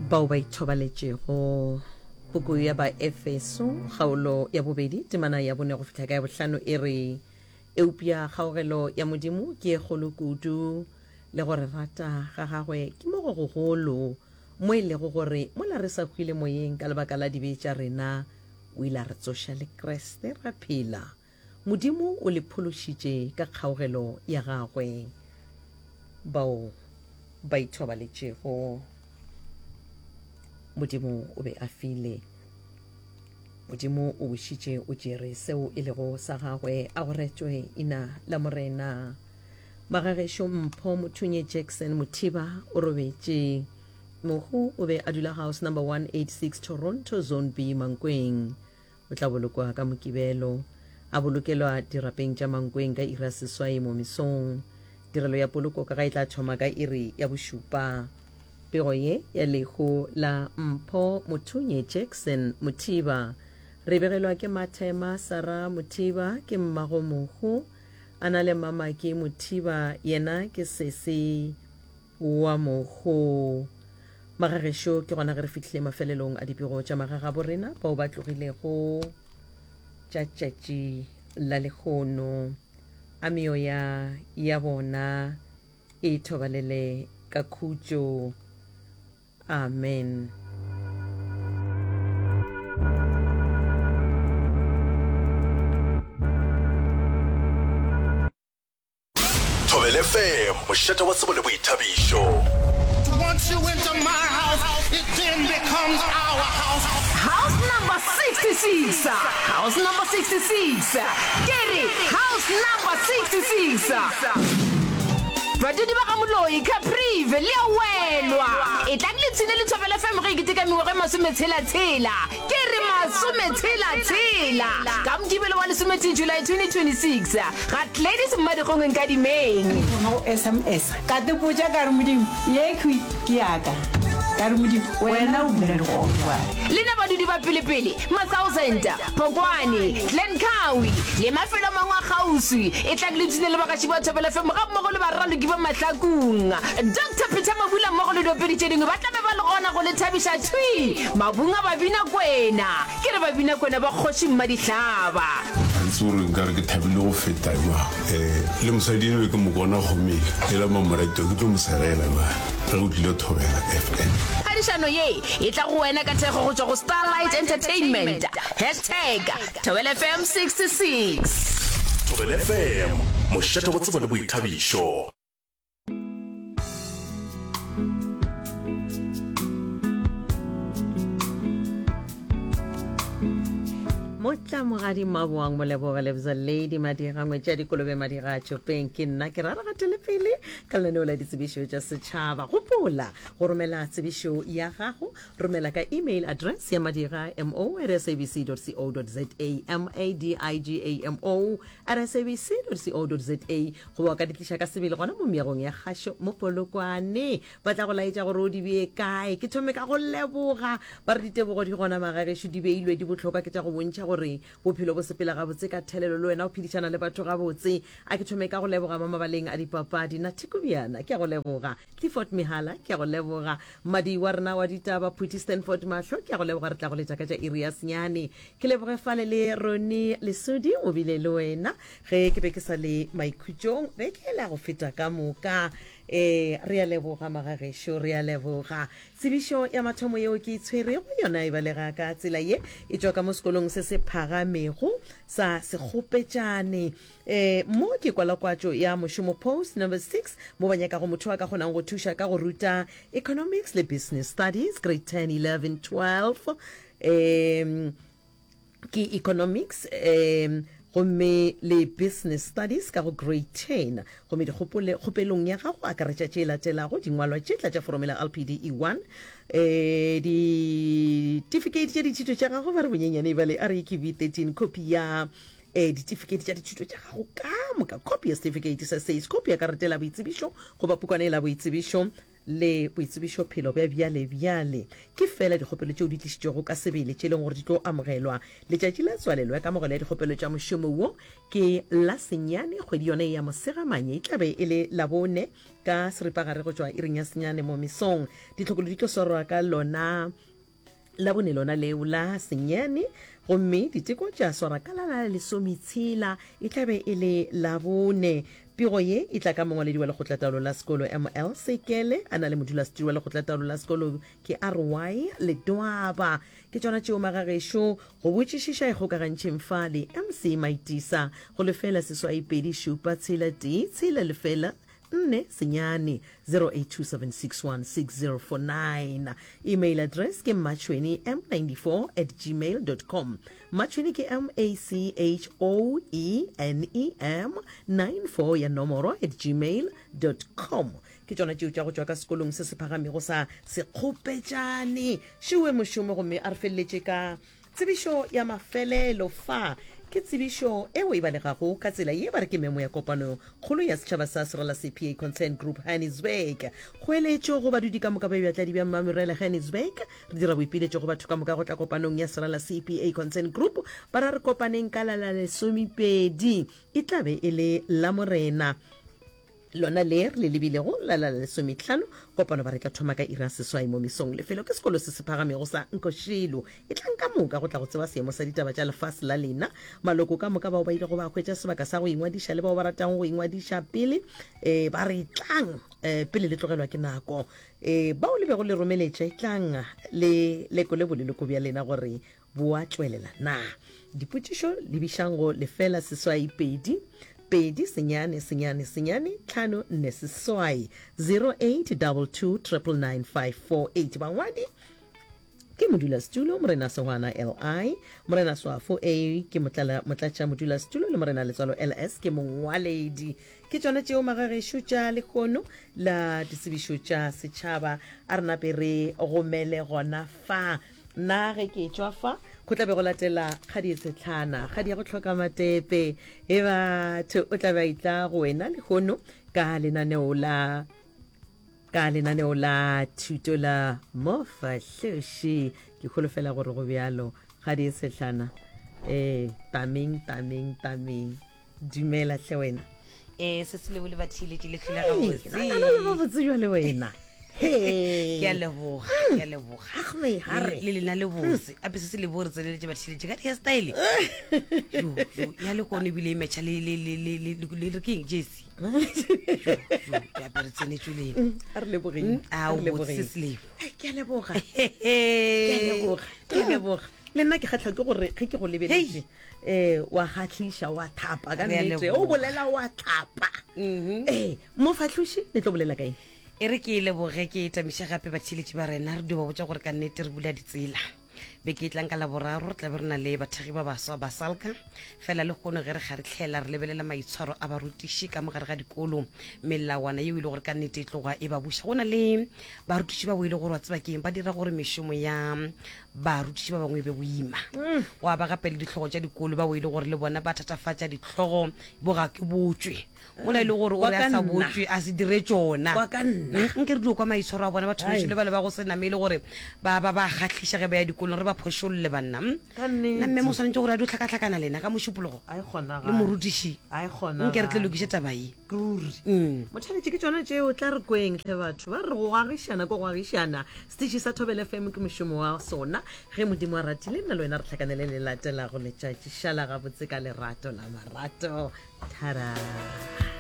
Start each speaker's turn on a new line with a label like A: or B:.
A: Bao ba ithobaletšego. Puku ya Baefeso, kgaolo ya bobedi, temana ya bone go fihla ka ya bohlano e re, Eupša kgaogelo ya Modimo ke e kgolo kudu, le go re rata ga gagwe ke mo go gogolo, mo e lego gore mola re sa hwile moyeng ka lebaka la dibe tša rena, o ile a re tsoša le Kriste ra phela. Modimo o le phološitše ka kgaogelo ya gagwe. Bao ba ithobaletšego, Modimo o be a file. Modimo o bušitše o tšere seo e lego sa gagwe, a go retšwe ina la Morena. Magagešo Mpho Mothunye Jackson Mothiba o robetše. Mohu o be a dula house number 186 Toronto Zone B Mankweng. O tla bolokwa ka Mokibelo, a bolokelwa dirapeng tša Mankweng ka iri ya seswai mo mesong. Tirelo ya poloko ka ga e tla thoma ka iri ya bošupa. Pego ye ya lehu la Mpho Mothunye Jackson Mothiba re begelwa ke Mathema Sarah Mothiba ke mmago mohu a na le Mamaki Mothiba yena ke sesi wa mohu. Magagešo ke gona ge re fihlile mafelelong a dipego tša magagabo rena bao ba tlogilego tša tšatši la lehono. A meoya ya bona e thobalele ka khutšo. Amen.
B: Thobela FM, mošate wa tsebo le boithabišo.
C: Once you enter my house, it then becomes our house.
D: House number 66, house number 66, ke re house number 66. Badudi ba ga Moloi, Caprivi, le a welwa. Etlang le tshine le Thobela FM ge e keteka mengwaga e masometshela-tshela. Ke re masometshela-tshela. Ka Mokibelo wa lesometee July 2026, ga Gladys Mmadikgong Nkadimeng.
E: Thoma go sms. Ka tepotša ka re, Modimo, yekhwi ke ya ka. Ka re, Modimo, wena o dula legodimong.
D: Lena badudi ba pelepele, Mathousand, Phokwane, Glen Cowie le mafelo a mangwe a kgauswi, etlang le ipshine le bagaši ba Thobela FM gammogo le baraloki ba Mahlakung. Doctor Peter Mabula mmogo le diopedi tše dingwe ba tla be ba le gona go le thabiša thwi mabung a Babinakwena. Ke re Babinakwena ba Kgoši Mmadihlaba.
F: Ga ke tsebe gore nkare ke thabile go feta bjang. Um le mosadi eno be ke mo kona gomele ela mamorato ke tlo mo segela bjale ge o tlile Thobela FM.
D: Phadišano ye e tla go wena ka thekgo go tšwa go Starlight Entertainment. Hashtag Thobela FM 66.
B: Thobela FM, mošate wa tsebo le boithabišo.
A: Motlamogadi Maboang Moleboge Lebza Lady Madira ngwetši ya dikolobe Madira a Tšopeng ke nna ke ra re gatele pele ka lenaneo la ditsebišo tša setšhaba. Gopola go romela tsebišo ya gago, romela ka email address ya madira mo at sabc co za m a d i g a m o at sabc co za goba o ka di tliša ka sebele gona mo meagong ya kgašo mo Polokwane. Ba tla go laetša gore o di bee kae. Ke thome ka go leboga ba re ditebogo di gona magagešo di beilwe di bohlokwa ke tša go bontšha gore bophelo bo sepela gabotse ka thelelo le wena o phedišana le batho gabotse. A ke thome ka go leboga mo mabaleng a dipapadi Nathi Kobiana ke a go leboga, Clifford Mihala ke a go leboga, mmadi wa rena wa ditaba Phuti Stanford Mahlo ke a go leboga re tla go letša ka tša iri ya senyane. Ke leboge fale le Ronnie Lesodi o bile le wena ge ke be ke sa le maikhutšong beke yela go feta ka moka. Ee, re a leboga magagešo, re a leboga. Tsebišo ya mathomo yeo ke e tshwerego yona e balega ka tsela ye, e tšwa ka mo sekolong se se phagamego sa Sekgopetšane. Ee, mo ke kwalakwatšo ya mošomo post number 6 mo ba nyakago motho a ka kgonang go thuša ka go ruta Economics le Business Studies, grade 10, 11, 12. Um ke economics um gomme le business studies ka go grade 10 gomme dikgopole kgopelong ya gago akaretša tše latelago dingwalwa tše tla tša foromela lpde 1 um ditifikheiti tša dithuto tša gago ba re bonyenyane e ba le reqv 13 copy ya um ditifikheiti tša dithuto tša gago ka moka copy ya setifikeiti sa says copy ya karata la boitsebišo goba pukwana e la boitsebišo. le boitsebišophelo bja bjalebjale. Ke feela dikgopelo tšeo di tlišitšwego ka sebele tše e leng gore di tlo amogelwa. Letšatši la tswalelo ya kamogelo ya dikgopelo tša mošomo wo ke la senyane kgwedi yona ye ya Mosegamanye, e tla be e le Labone ka seripagare go tšwa iring ya senyane mo mesong. Ditlhokolo di tlo swarwa ka lona Labone lona leo la senyane gomme diteko tša swara ka la la lesometshela, e tla be e le Labone. Pego ye e tla ka mongwaledi wa lekgotlataolo la sekolo ML Sekele a na le modulasetiri wa lekgotlataolo la sekolo ke RY Ledwaba. Ke tšona tšeo magagešo go botšišiša e kgokagantšheng fa le MC Maitisa go lefela seswai 2 7 tshela tee tshela lefela nne senyane 0827616049. Email address ke mmatšhweni m94 at gmail dot com. Mmatšhweni ke M A C H O E N E M 94 ya nomoro at gmail dot com. Ke tšona tšeo tša go tšwa ka sekolong se se phagamego sa Sekgopetšane. Šewe mošomo gomme a re feleletše ka Tsebišo ya mafelelo fa ke tsebišo eo e balegago ka tsela ye ba re ke memo ya kopano kgolo ya setšhaba sa Serala CPA Concern Group Hannesburg. Kgoeletšo go badudi ka moka ba bjatladi bja Mmamerele Hannesburg. Re dira boipiletšo go batho ka moka go tla kopanong ya Serala CPA Concern Group. Ba ra re kopaneng ka la la lesomepedi. E tla be e le Lamorena. Lona le re le lebilego la la lesometlhano, kopano ba re tla thoma ka iri ya seswai mo mesong. Lefelo ke sekolo se se phagamego sa Nkoshilo. Etlang ka moka go tla go tseba seemo sa ditaba tša lefase la lena. Maloko ka moka bao ba ilego ba hwetša sebaka sa go ingwadiša le bao ba ratago go ingwadiša pele e, ba re etlang e, pele le tlogelwa ke nako. E, bao le bego le romeletše, etlang le lekole boleloko bja lena gore Bo a tšwelela na? Dipotšišo lebišang go lefela seswai pedi pedi senyane senyane senyane tlhano nne seswai 0822 999 548. Bangwadi ke modulasetulo Morena Sehwana LI, Morena Swafo A ke motlala motlatša modulasetulo le Morena Letswalo LS ke mongwaledi. Ke tšona tšeo magagešo tša lehono la ditsebišo tša setšhaba. A re nape re gomele gona fa. Nna ge ke etšwa fa, go tla be go latela kgadi e setlhana, kgadi ya go hloka matepe. E batho, o tla be a itla go wena lehono ka lenaneo la ka lenaneo la thuto la Mofahloši. Ke holofela gore go bjalo. Kgadi e setlhana. Eh, tameng, tameng, tameng. Dumela hle wena.
D: Eh, se se lebo le batheeletši le hlole gabotse.
A: Nna le gabotse jwale wena.
D: Ke a leboga, ke a leboga. Le lena le botse. Ape se se lebo re tseneletše batheeletši ka di-hairstyle. Jo, jo, ya le kone ebile e matcha le le le le le le re ke eng jersey. Jo, jo, ke apere tsenetšwe lena.
A: A re lebogeng.
D: A o botse se se lebo.
A: Ke a leboga. Ke a leboga. Ke a leboga. Le nna ke kgahlwa ke gore ge ke go lebeletše eh wa kgahliša wa thapa ka nnete o bolela wa thapa mhm. ee mofahloši le tlo bolela kaeng
D: e re ke e leboge ke e tamiše gape batheeletši ba rena re dio ba botša gore ka nnete re bula ditsela beke e tlang ka laboraro re tlabe re na le bathekgi ba baswa ba salka fela le kgono ge re kgaritlhela re lebelela maitshwaro a barutiši ka mogare ga dikolo melawana yeo e le gore ka nnete e tloga e ba buša go na le barutiši ba bo e le gore wa tseba keng ba dira gore mešomo ya barutiši ba bangwe e be boima mm. go aba gape le ditlhogo tša dikolo ba o e le gore le bona ba thatafatša ditlhogo bo ga ke botswe mola e le gore o re a sa botswe a se dire tšona mm, nke re dio kwa maitshwaro a bona batho bešo le bale ba go se name e le gore ba ba ba kgahliša ge ba ya dikolong re ba phošolle banna mm? nna mme mo swanetše gore a dio tlhakatlhakana lena ka mošupologo le morutiši nke re tle lokiše taba ye
A: Ruri. Mm. Motheletši ke tšona tšeo tla re kweng hle batho ba re go agišana ko go agišana setiši sa Thobela FM ke mošomo wa sona ge modimo a ratile nna le wena re tlhakanele le latelago letšatši šala gabotse ka lerato la marato thara.